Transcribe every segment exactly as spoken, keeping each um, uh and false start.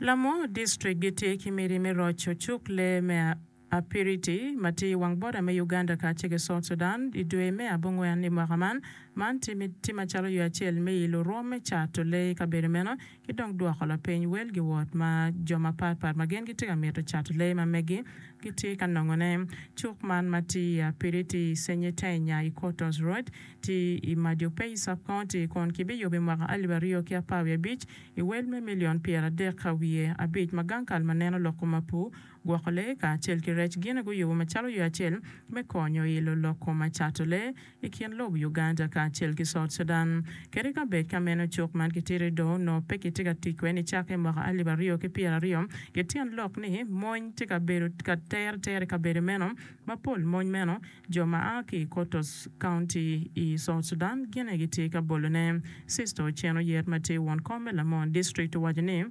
Lamwor District gitye ki miti me roco cuk lee me Apiriti ma tye i wang boda me Uganda kacel ki South Sudan i dwe me abongwen i mwaka man. Man tye macalo yo acel me ilo rwom me cato lee i kabedo meno ki dong dwoko lapiny wel giwot ma jo mapatpat ma gin gitye ka mito cato lee ma megi gitye ka nongone. Cuk man ma tye i Apiriti i Senyetenya i Kotos Road tye i Madiopeyi Sub-County kun kibiyubo i mwaka alip aryo ki apar wiye abic i wel me milion pyeradek wiye abic ma gang kal ma neno lok kom apur, gwoko lee kacel ki rec gin guyubo macalo yo acel me konyo ilo lok kom cato lee i kin lobo Uganda kacel ki South Sudan. Kadi ka bed ka meno cuk man kitito do onongo pe kitye ka tic kwede nicakke i mwaka alip aryo ki pyeraryo gityen lok ni mony tye ka bedo ka tere tere i kabedo meno ma pol mony meno jo ma a ki i Kotos County i South Sudan gin aye gitye ka bolone. Sister Ocen Oyet ma tye won kom me Lamon District owaco ni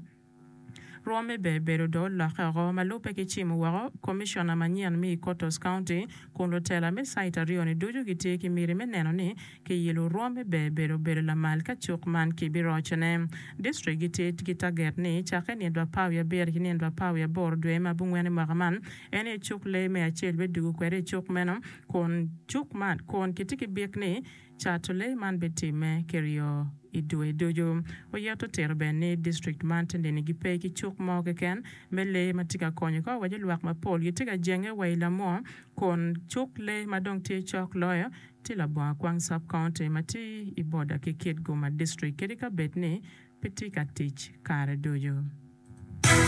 rwomme ber bedo do olokke oko ma lubbe ki cimo woko komiciona manyen me i Kotos County kun lutela me cait aryo-ni ducu gitye ki miti me neno ni kiyilo rwomme ber bedo bedo lamal ka cuk man kibirocone. District gitye ki taget ni cakke nino apar wiye abiro ki nino apar wiye aboro dwe me abongwen i mwaka man en aye cuk lee me acel bidugo kwede i cuk meno kun cuk man kun kitye ki bik ni cato lee man bitimme kiryo i dwe ducu. Oyeto otito bene ni district man te nini gipe ki cuk mo keken me lee ma tye ka konyo ka owaco lwak mapol gitye ka jenge wa i lamwo kun cuk lee ma dong tye cok loyo tye labongo akwang sub-county ma tye i boda ki Kitgum district kadi ka bed ni pe tye ka tic kare ducu.